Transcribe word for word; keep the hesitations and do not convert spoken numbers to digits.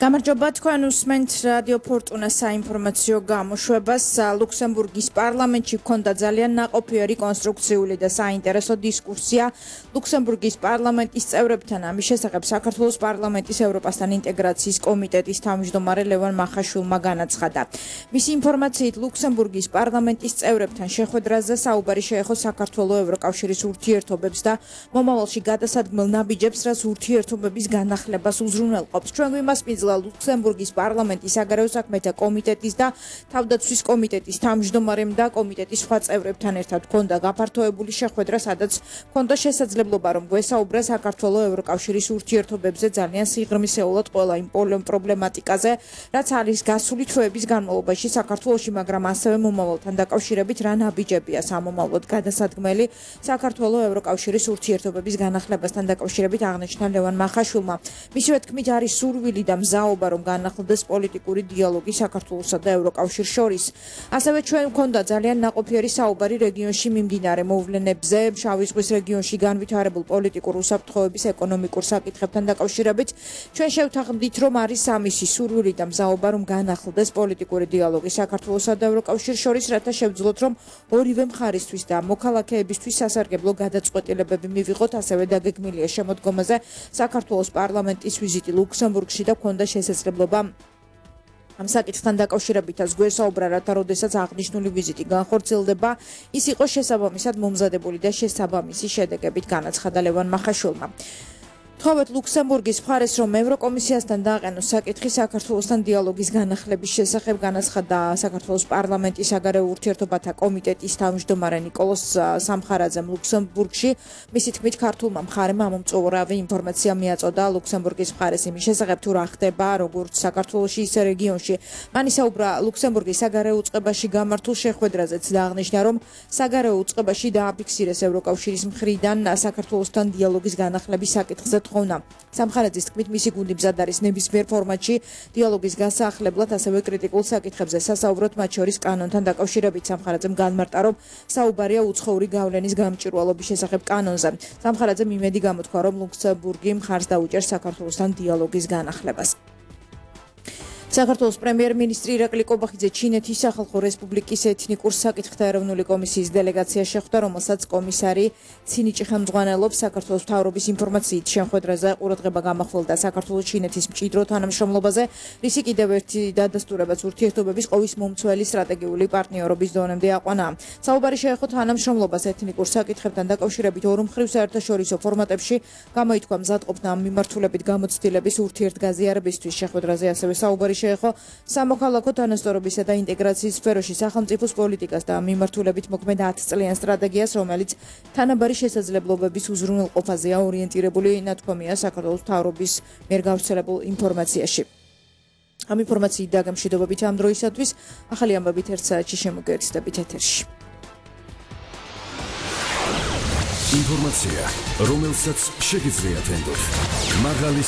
გამარჯობა თქვენ უსმენთ რადიო ფორტუნას საინფორმაციო გამოშვებას. ლუქსემბურგის პარლამენტში ჰქონდა ძალიან ნაყოფიერი კონსტრუქციული და საინტერესო დისკუსია ლუქსემბურგის პარლამენტის წევრებთან. ამის შესახებ საქართველოს პარლამენტის ევროპასთან ინტეგრაციის კომიტეტის თავმჯდომარე ლევან მახაშვილმა განაცხადა. მისი ინფორმაციით ლუქსემბურგის პარლამენტის წევრებთან შეხვედრაზე საუბარი შეეხო საქართველოს ევროკავშირის ურთიერთობებს და მომავალში გადასადგმელ ნაბიჯებს, რაც ურთიერთობების განახლებას უზრუნველყოფს. ჩვენ გვიმასპინძლა ლუქსემბურგის პარლამენტის საგარეო საქმეთა კომიტეტის და თავდაცვის კომიტეტის თავმჯდომარემ და კომიტეტის სხვა წევრებთან ერთად ჰქონდა გაფართოებული შეხვედრა, სადაც ჰქონდა შესაძლებლობა რომ გვესაუბრა საქართველოს ევროკავშირის ურთიერთობებზე ძალიან სიღრმისეულად ყველა იმ პრობლემატიკაზე, რაც არის გასული თვეების განმავლობაში საქართველოში, მაგრამ ასევე მომავალთან დაკავშირებით რა ნაბიჯებია სამომავლოდ გადასადგმელი საქართველოს ევროკავშირის ურთიერთობების განახლებასთან დაკავშირებით აღნიშნა ლევან მახაშვილმა. მისივე თქმით არის სურვილი და მზაობა რომ განახლდეს პოლიტიკური დიალოგი საქართველოსა და ევროკავშირს შორის. ასევე ჩვენ გვქონდა ძალიან ნაყოფიერი საუბარი რეგიონში მიმდინარე მოვლენებზე, შავი ზღვის რეგიონში განვითარებულ პოლიტიკურ უსაფრთხოების ეკონომიკურ საკითხებთან დაკავშირებით. ჩვენ შევთანხმდით რომ არის ამისი სურვილი და მზაობა რომ განახლდეს პოლიტიკური დიალოგი საქართველოსა და ევროკავშირს შორის, რათა შევძლოთ რომ ორივე მხარისთვის და მოქალაქეებისთვის სასარგებლო გადაწყვეტილებები მივიღოთ. ასევე დაგეგმილია შემოდგომაზე საქართველოს პარლამენტის ვიზიტი ლუქსემბურგში და ჰქონდა შესაძლებლობა ამ საკითხთან დაკავშირებითაც გვესაუბრა, რათა როდესაც აღნიშნული ვიზიტი განხორციელდება, ის იყოს შესაბამისად მომზადებული და შესაბამისი შედეგებით, განაცხადა ლევან მახაშვილმა. თხოვეთ ლუქსემბურგის მხარეს რომ ევროკომისიასთან დააყენოს საკითხი საქართველოსთან დიალოგის განახლების შესახებ, განაცხადა საქართველოს პარლამენტის საგარეო ურთიერთობათა კომიტეტის თავმჯდომარე ნიკოლოზ სამხარაძემ ლუქსემბურგში. მისი თქმით, ქართულმა მხარემ ამომწურავი ინფორმაცია მიაწოდა ლუქსემბურგის მხარეს იმის შესახებ, თუ რა ხდება როგორც საქართველოში, ისე რეგიონში. მან ისაუბრა ლუქსემბურგის საგარეო უწყებაში გამართულ შეხვედრაზეც და აღნიშნა, რომ საგარეო უწყებაში დააფიქსირეს ევროკავშირის მხრიდან საქართველოსთან დიალოგის განახლების საკითხზე ხოვნა. სამხარაძის თქმით, მისი გუნდი მზად არის ნებისმიერ ფორმატში დიალოგის გასაახლებლად, ასევე კრიტიკულ საკითხებზე სასაუბროთ, მათ შორის კანონთან დაკავშირებით. სამხარაძემ განმარტა, რომ საუბარია უცხოური გავლენის გამჭვირვალობის შესახებ კანონზე. სამხარაძემ იმედი გამოთქვა, რომ ლუქსემბურგი მხარს დაუჭერს საქართველოსთან დიალოგის განახლებას. საქართველოს პრემიერ-მინისტრი ირაკლი კობახიძე ჩინეთის სახალხო რესპუბლიკის ეთნიკურ საკითხთა ეროვნული კომისიის დელეგაცია შეხვდა, რომელსაც კომისარი ცინიჭი ხელმძღვანელობს. საქართველოს მთავრობის ინფორმაციით შეხვედრაზე ყურადღება გამახვილდა საქართველოს ჩინეთის მჭიდრო თანამშრომლობაზე, რისი კიდევ ერთი დადასტურებაც ურთიერთობების ყოვის მომცველი სტრატეგიული პარტნიორობის დონემდე აყვანა. საუბარი შეეხო თანამშრომლობას ეთნიკურ საკითხებთან დაკავშირებით ორ მხრივ საერთაშორისო ფორმატებში, გამოითქვა მზადყოფნა ამ მიმართულებით გამოცდილების ურთიერთგაზიარებისთვის. შეხვედრაზე ასევე საუბარი შეეხო სამოქალაქო თანასწორობისა და ინტეგრაციის სფეროში სახელმწიფოს პოლიტიკას და მიმართულებით მოქმედ ათ წლიან სტრატეგიას, რომელიც თანაბარი შესაძლებლობების უზრუნველყოფაზეა ორიენტირებული, ნათქვამია საქართველოს მთავრობის მიერ გავრცელებულ ინფორმაციაში. ამ ინფორმაციით და გამშვიდობებით ამ დროისათვის ახალი ამბებით ერთ საათში შემოგერთდებით ეთერში. ინფორმაცია, რომელსაც შეგიძლიათ ენდოთ. მაღალი